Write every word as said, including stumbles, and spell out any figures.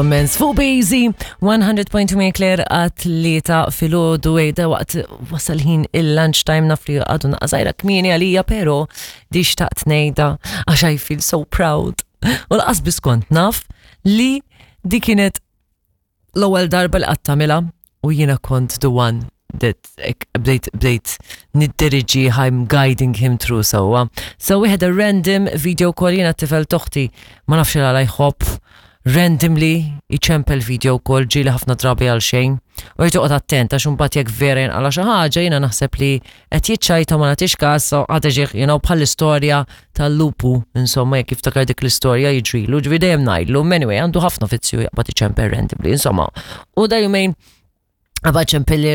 Comments fuq Bazy one hundred point two minn Claire għat-tlieta filgħodu ejda waqt wasal ħin il-lunchtime. Naf li għadu naqra żgħira kmieni għalija, pero di xtaqt ngħidha għax I feel so proud. U lanqas biss kont naf li di kienet l-ewwel darba li qatt tagħmilha u jiena kont the one that ek, bdejt bdejt niddiriġi, I'm guiding him through sewwa. So we had a random video call. Jiena t-tifel t'oħti ma nafx għala jħobb randomly iċempel video call, ġieli ħafna drabi għal xejn. U jrid toqgħod attent għax imbagħad jekk vera jinqala xi ħaġa, jiena naħseb li qed jiċċajta, ma nagħtix każ, so għadha ġieħ, you know bħall-istorja tal-lupu, insomma, jekk jiftakar dik l-istorja jiġrilu, ġifieri dejjem ngħidlu, anyway, għandu ħafna fizzju jaqbad iċempel randomly, insomma. U da jumejn qabad ċempilli.